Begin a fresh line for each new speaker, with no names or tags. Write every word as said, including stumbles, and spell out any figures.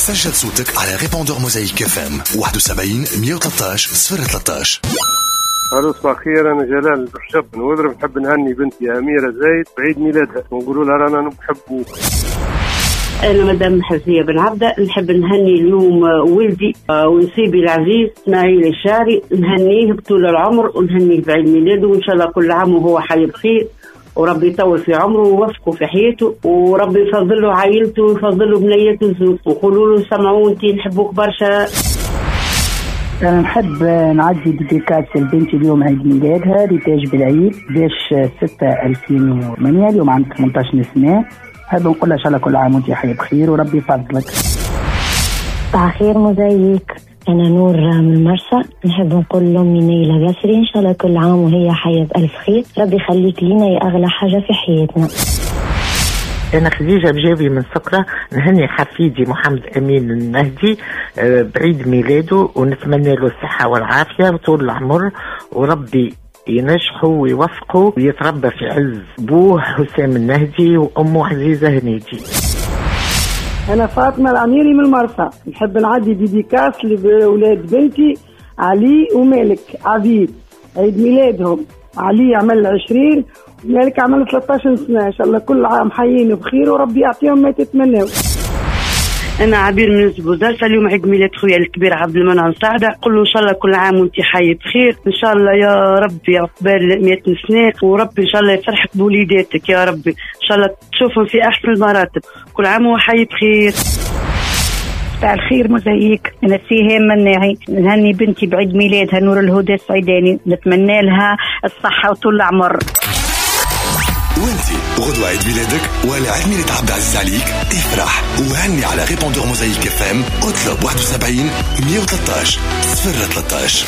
سجل صوتك على répondeur موزايك FM واحد وسبعين مية وثلاثطاش صفر ثلاثطاش.
الو، صباح الخير، انا جلال رجب من وذرب، نحب نهني بنتي اميره زايد بعيد ميلادها ونقولوا لها رانا نحبوك.
أنا مدام حفظية بن عبدة، نحب نهني اليوم ولدي ونسيبي العزيز اسماعيل الشاري، نهنيه بطول العمر ونهنيه بعيد ميلاده، وإن شاء الله كل عام وهو حي بخير، وربي يطول في عمره ويوفقه في حياته، وربي يفضل له عائلته ويفضل له بنيته الزوج، وقولوا له سمعونتي نحبوك برشا.
أنا نحب نعدي dédicace لبنتي اليوم عيد ميلادها ريتاج بالعيد باش ستة ألفين وثمانية، اليوم عندها ثمنطاش سنة. نحب نقول لها إن شاء الله كل عام وأنت حي بخير وربي يفضلك.
صباح الخير موزايك، أنا نور من المرسى، نحب نقول لأمي نيلة بسري إن شاء الله كل عام وهي حية بألف خير، ربي يخليك لينا يا أغلى حاجة في حياتنا.
أنا خديجة بجاوي من سكرة، نهني حفيدي محمد أمين النهدي بعيد ميلاده ونتمنى له الصحة والعافية وطول العمر، وربي ينجحه ويوفقه ويتربى في عز بوه حسام النهدي وأمه عزيزة هنيدي.
أنا فاطمة العميري من المرسى، نحب نعدي dédicace لأولاد بنتي علي ومالك عبيد عيد ميلادهم، علي عمل عشرين ومالك عمل ثلاثطاش سنة، إن شاء الله كل عام حيين بخير وربي يعطيهم ما تتمنوا.
أنا عبير من بوزالة، اليوم عيد ميلاد خويا الكبير عبد المنعم سعدة، قل له إن شاء الله كل عام وأنت حي بخير، إن شاء الله يا ربي عقبال مئة سنة، وربي إن شاء الله يفرحك بوليداتك يا ربي، إن شاء الله تشوفهم في أحسن المراتب، كل عام وحي بخير.
مساء الخير موزايك، أنا سيهام مناعي، نهني بنتي بعيد ميلادها نور الهدى السعيداني، نتمنى لها الصحة وطول العمر.
وانتي غدوة عيد ميلادك ولا عيد ميلاد عبد العزيز عليك، افرح وهني على répondeur موزايك FM، اطلب واحد وسبعين مية وثلاثطاش صفر ثلاثطاش.